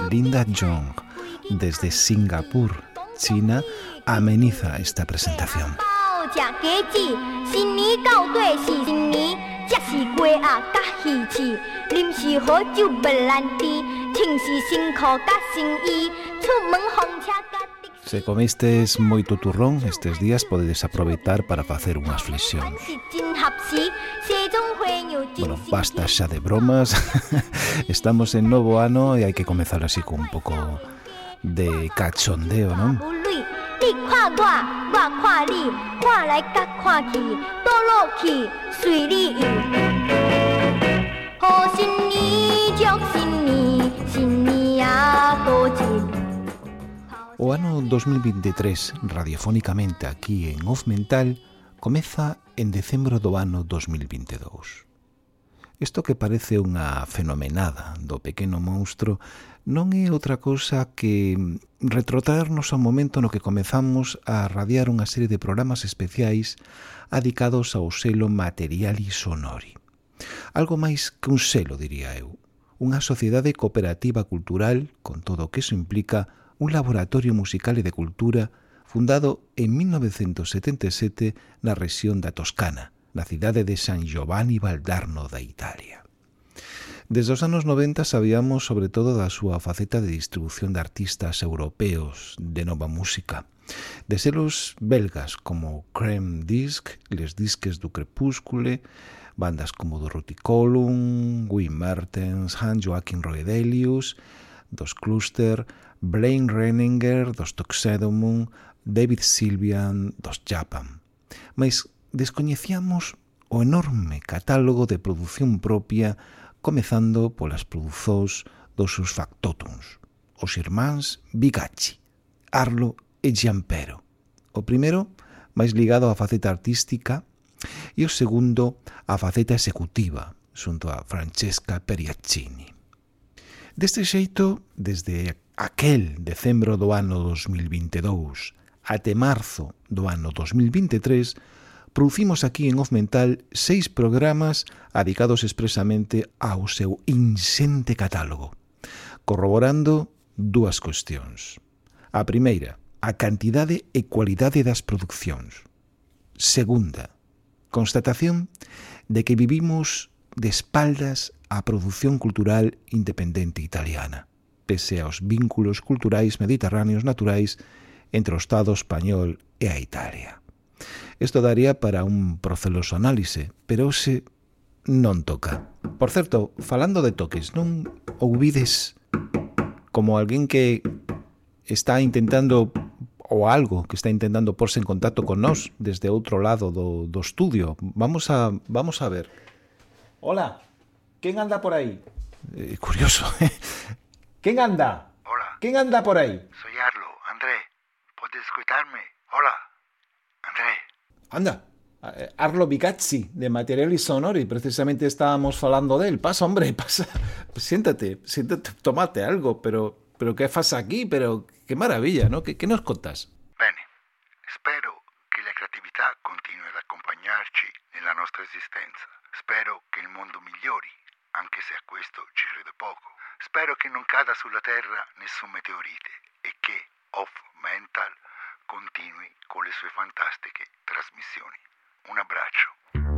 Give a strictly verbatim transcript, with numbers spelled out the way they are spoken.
Linda Jong, desde Singapur, China, ameniza esta presentación. Se comistes moito turrón estes días, podedes aproveitar para facer unhas flexións. Bueno, basta xa de bromas. Estamos en novo ano e hai que comezar así con un pouco de cachondeo, non? O ano dos mil veintitrés, radiofónicamente aquí en Off Mental, comeza en decembro do ano dos mil veintidous. Isto que parece unha fenomenada do pequeno monstro non é outra cousa que retrotraernos ao momento no que comezamos a radiar unha serie de programas especiais adicados ao selo Materiali Sonori. Algo máis que un selo, diría eu. Unha sociedade cooperativa cultural, con todo o que iso implica, un laboratorio musical e de cultura fundado en mil novecentos setenta e sete na rexión da Toscana, na cidade de San Giovanni Valdarno da Italia. Desde os anos noventa sabíamos sobre todo da súa faceta de distribución de artistas europeos de nova música, de selos belgas como Creme Disc, Les Disques du Crepúscule, bandas como do Ruticolum, Wim Mertens, Hans Joachim Roedelius, dos Cluster, Blaine Renninger, dos Tuxedomun, David Sylvian, dos Japan. Mais descoñecíamos o enorme catálogo de produción propia, comezando polas produzós dos seus factotums, os irmáns Bigacci, Arlo e Giampero. O primeiro, máis ligado á faceta artística, e o segundo, á faceta executiva, xunto a Francesca Periaccini. Deste xeito, desde aquel decembro do ano dos mil veintidous até marzo do ano dos mil veintitrés, producimos aquí en Off Mental seis programas dedicados expresamente ao seu insente catálogo, corroborando dúas cuestións. A primeira, a cantidade e cualidade das producións. Segunda, constatación de que vivimos de espaldas á produción cultural independente italiana, pese aos vínculos culturais mediterráneos naturais entre o Estado español e a Italia. Isto daría para un proceloso análise, pero hoxe non toca. Por certo, falando de toques, non ouvides como alguén que está intentando, ou algo que está intentando porse en contacto con nós desde outro lado do, do estudio? Vamos a, vamos a ver. Hola, ¿quién anda por ahí? Eh, curioso, ¿eh? ¿Quién anda? Hola. ¿Quién anda por ahí? Soy Arlo, André. ¿Puedes escucharme? Hola, André. Anda, Arlo Bigacci, de Materiali Sonori, precisamente estábamos falando de él. Pasa, hombre, pasa. Siéntate, siéntate, tomate algo, pero, pero ¿qué fas aquí? Pero qué maravilla, ¿no? ¿Qué, qué nos contas? Bene, spero che la creatività continui ad accompagnarci nella nostra esistenza. Spero che il mondo migliori, anche se a questo ci credo poco. Spero che non cada sulla Terra nessun meteorite e che Off Mental continui con le sue fantastiche trasmissioni. Un abbraccio.